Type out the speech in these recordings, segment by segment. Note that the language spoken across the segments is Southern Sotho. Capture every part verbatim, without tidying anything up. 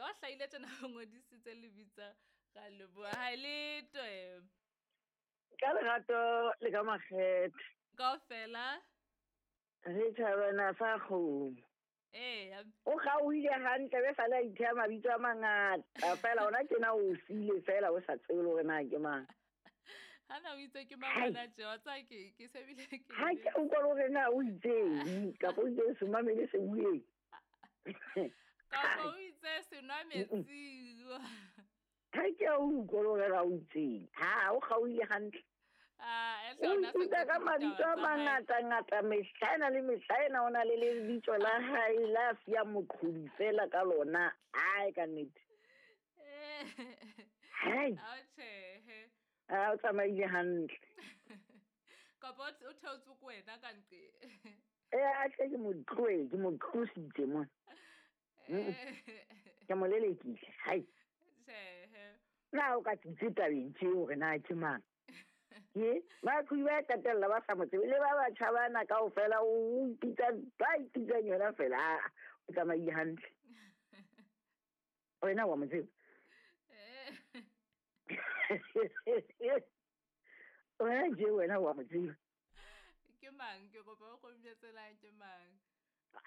Wa hlahile tjena o ngodisitse lebitso ra leboha. Ha le twe. Ka lerato le ka makgethe. Kaofela. Re thabana sa kgomo. Ee. O kgaohile hantle be sale a itheha mabitso a mangata fela ona tjena o siile fela o sa tsebe le hore na ke mang. Hana o itse ke mang hona tje wa tseba ke ke sebile ke. Ha ke utlwa le hore na o itseng kapa o itse se mamele se bueng. Kapa o itse se nwa metsi. Ha ke a utlwa le hore na o itseng. Ha o kgaohile hantle. Ah, e hle ona O ipitsa ka mabitso a mangata-ngata mehla ena le mehla ena o na le lebitso la hae la siyang moqhobi fela ka lona. Ai ka nnete. Eh. Hai. A tjhe. Ah, o tsamaile hantle. Kapa o theotswe ko wena ka nqe. Eh, a tle ke mo tlohe, ke mo tlositse mona. Ke mo lelekile. Hai. Tjhe. Na o ka tsitse tabeng tje hore na ke mang? Ke ba qhobi ba qetella ba sa mo tsebe le ba batjha bana kaofela o ipitsa ba ipitsang yona fela. Ah, o tsamaile hantle. Wena wa mo tseba? Eh. Wena je wena wa mo tseba? Ke mang? Ke kopa o kgombetsela ke mang?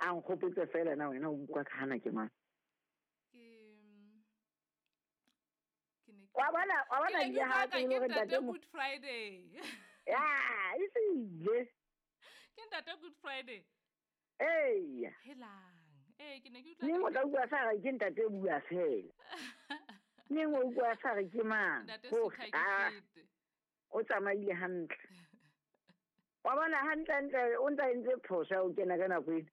A nkgopotse fela na wena o utlwa ka hana ke mang? Ke ke ne ke Wa bona, wa bona Ke ne ke ebile ha utlwa ka tsebe ke hore ntate ntate mo- Good Friday. Ya, e se Ke ntate Good Friday. Eya. Helang. Eh, ke ne ke utlwa Neng ka o tla utlwa sa re ke ntate bua fela. Neng o utlwa sa re ke mang? Ntate Hore, Sutha ke ah, fete. o tsamaile hantle. Wa bona hantle hantle o ntsa entse phoso ya ho kena ka nako ena.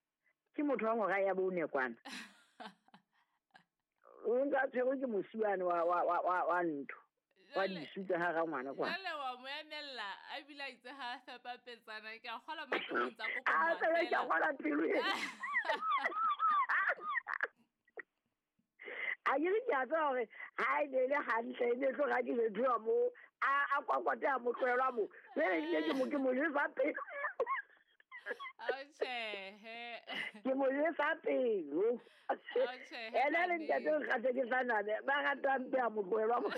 Ke motho wa ngora ya bone kwana. O ntsa tshwerwe ke mosiwane wa, wa, wa, wa, wa ntho. Wa Jwale- disu tsa hara ngwana kwana. Jwale wa mo emella, a bile a itse ha a fepa petsana, ke a kgolwa matlo tsa kokomoha Ah, fela ke a fela. kgolwa pelo ena. A ke re ke a tseba hore ha e ne e le hantle, e ne e tlo ra ke jwetsuwa moo, a, a kwakwate a mo tlohelwa moo. Jwale ebile ke mo, ke mo jwetsa pelo. Ao tjhehe. Ke mo jwetsa pelo. Ao tjhehe, Ena le ntate Ntate. o nkgathe ke sa nane, ba rata mpe a mo tlohelwa moo.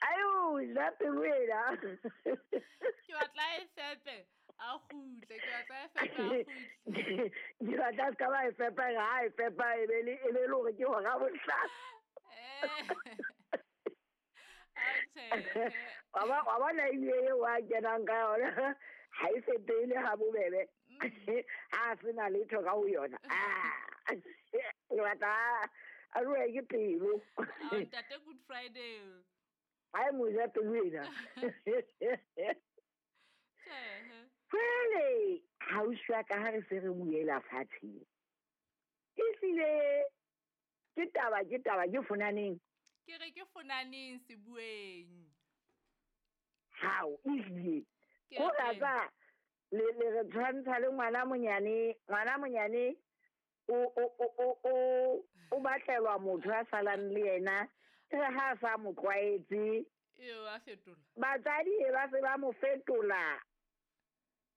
Ayo, ja pelo ena. Ke batla e fepe, a kgutle, ke batla e fepe, a kgutle. Ke batla se ka ba e fepa, ha e fepa e be le, e be le hore ke hora bohlano. Eh. Ao tjhehe. Wa ba, wa bona ebile eo a kenang ka yona, ha e fepele ha bobebe. Mm. Ha a sena letho ka ho yona. Ah. Ke batla a rue ke pelo. Ao, ntate Good Friday. Ha e mo ja pelo ena. Tjhehe. Jwale, ausi wa ka ha re se re buela fatshe. Ehlile ke taba, ke taba, ke fonaneng. Ke re ke fonaneng sebueng. Hao, ehlile. Ke Ho re. rata le, le re tshwantsha le ngwana monyane, ngwana monyane o, o, o, o, o, o batlelwa motho a salang le yena. Ke re ha a sa mo tlwaetse. Eo, a fetola. Batswadi e ba se ba mo fetola.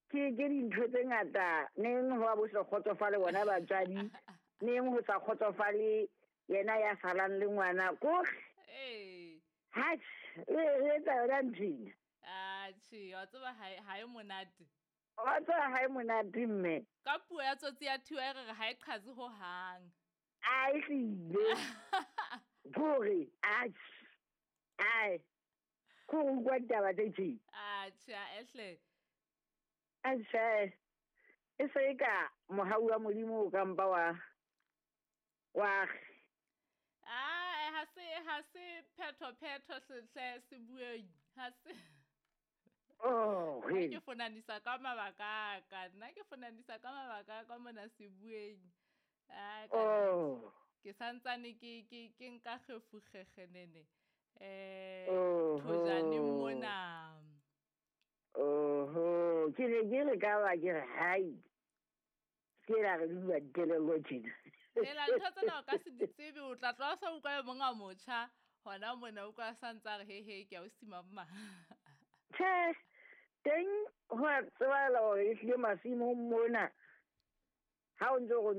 Ke, ke dintho tse ngata, neng ho a bo sa kgotsofale bona batswadi, neng ho sa kgotsofale yena ya salang le ngwana. Kore. Ee. Ha, re, re etsa yona ntho ena. Ah, tjhe, wa tseba ha e, ha e monate. Wa tseba ha e monate mme. Ka puo ya tsotsi ya thiwa e re re ha e qhatse hohang. A e hlile. Kore, atjhe. Ai. Kore o utlwa ditaba tse tje. Atjhe, a ehle. Atjhe. E se e ka mohau wa Modimo o ka mpa wa, wa Ah, ha se, ha se phetho, phetho hle se bueng. Ha se. Oh, Nna he. ke fonanisa ka mabaka a ka. Nna ke fonanisa ka mabaka a ka mona sebueng. Ah, ka Oh. Ke santsane ke, ke, ke nka kgefukgekgenene. Eh, Oh, thojaneng ho. mona. Oho, ke ne ke re ka ba ke re, hai. Ke la re bua dikelello tjena. Hela, ntho tsena o ka se di tsebe, o tla tloha o sa utlwa e mong a motjha. Hona mona o utlwa a sa ntse a re, he, he, ke a o sima mma. Tjhe, teng ho a tsebahala hore ehlile masimong mona, ha o ntse o